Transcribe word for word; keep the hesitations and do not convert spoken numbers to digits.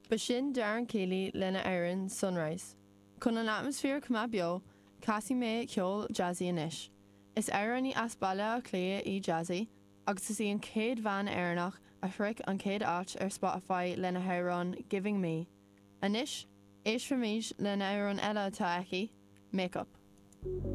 B'shin Darren Keeley lena amhrán Sunrise. Chun an atmaisféar cuma beo, casfaidh mé ceol Jazzy anois. Is amhránaí as Baile Átha Cliath í Jazzy, agus is í an chéad bhean Éireannach a shroich an chéad áit ar Spotify lena hamhrán Giving Me. Anois, éistfimid lena amhrán eile atá aici, Makeup.